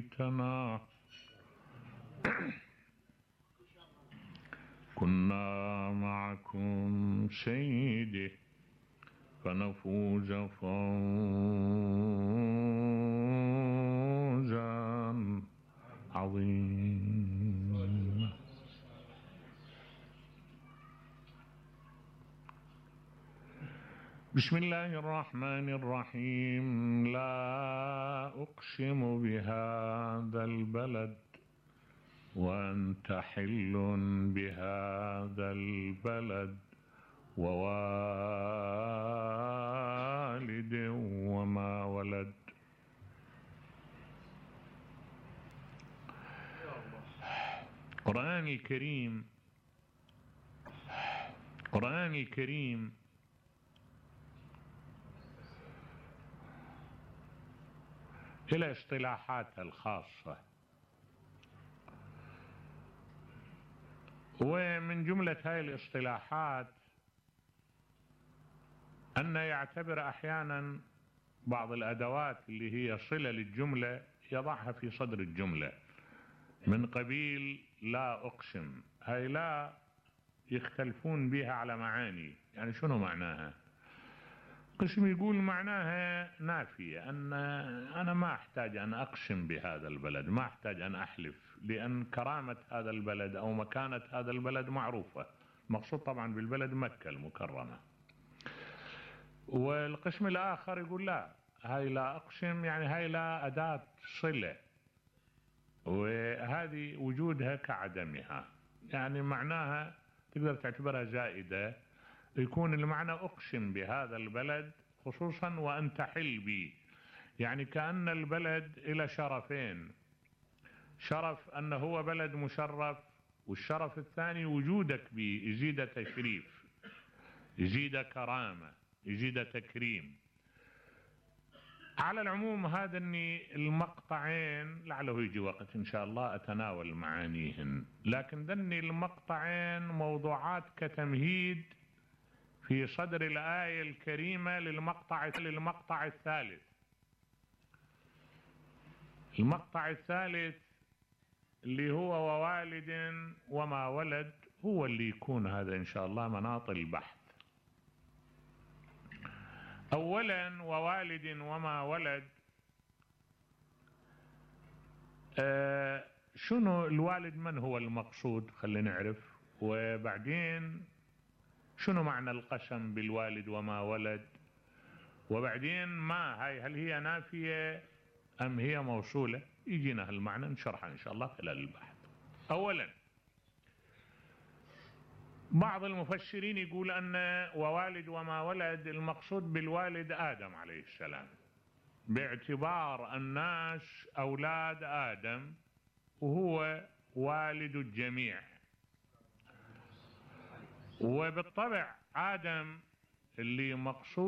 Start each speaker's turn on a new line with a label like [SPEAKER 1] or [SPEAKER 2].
[SPEAKER 1] ليتنا كنا معكم سيدي فنفوز فوزا عظيما. بسم الله الرحمن الرحيم. لا أقسم بهذا البلد وأنت حل بهذا البلد ووالد وما ولد. القرآن الكريم إلى اصطلاحاتها الخاصة، ومن جملة هاي الاصطلاحات أن يعتبر أحيانا بعض الأدوات اللي هي صلة للجملة يضعها في صدر الجملة، من قبيل لا أقسم. هاي لا يختلفون بها على معاني، يعني شنو معناها؟ قسم يقول معناها نافية، أن أنا ما أحتاج أن أقسم بهذا البلد، ما أحتاج أن أحلف، لأن كرامة هذا البلد أو مكانة هذا البلد معروفة. المقصود طبعا بالبلد مكة المكرمة. والقسم الآخر يقول لا، هاي لا أقسم يعني هاي لا أداة صلة، وهذه وجودها كعدمها، يعني معناها تقدر تعتبرها زائدة. يكون المعنى أقسم بهذا البلد خصوصا وأنت حل بي، يعني كأن البلد إلى شرفين: شرف أنه هو بلد مشرف، والشرف الثاني وجودك به يزيد تشريف، يزيد كرامة، يزيد تكريم. على العموم هذا المقطعين لعله يجي وقت إن شاء الله أتناول معانيهن، لكن ذني المقطعين موضوعات كتمهيد في صدر الآية الكريمة للمقطع الثالث. المقطع الثالث اللي هو ووالد وما ولد هو اللي يكون هذا إن شاء الله مناط البحث. أولا ووالد وما ولد، شنو الوالد؟ من هو المقصود؟ خلينا نعرف. وبعدين شنو معنى القسم بالوالد وما ولد؟ وبعدين ما هاي، هل هي نافية أم هي موصولة؟ يجينا هالمعنى نشرحها إن شاء الله خلال البحث. أولا بعض المفسرين يقول أن ووالد وما ولد المقصود بالوالد آدم عليه السلام، باعتبار الناس أولاد آدم وهو والد الجميع، وبالطبع آدم اللي مقصود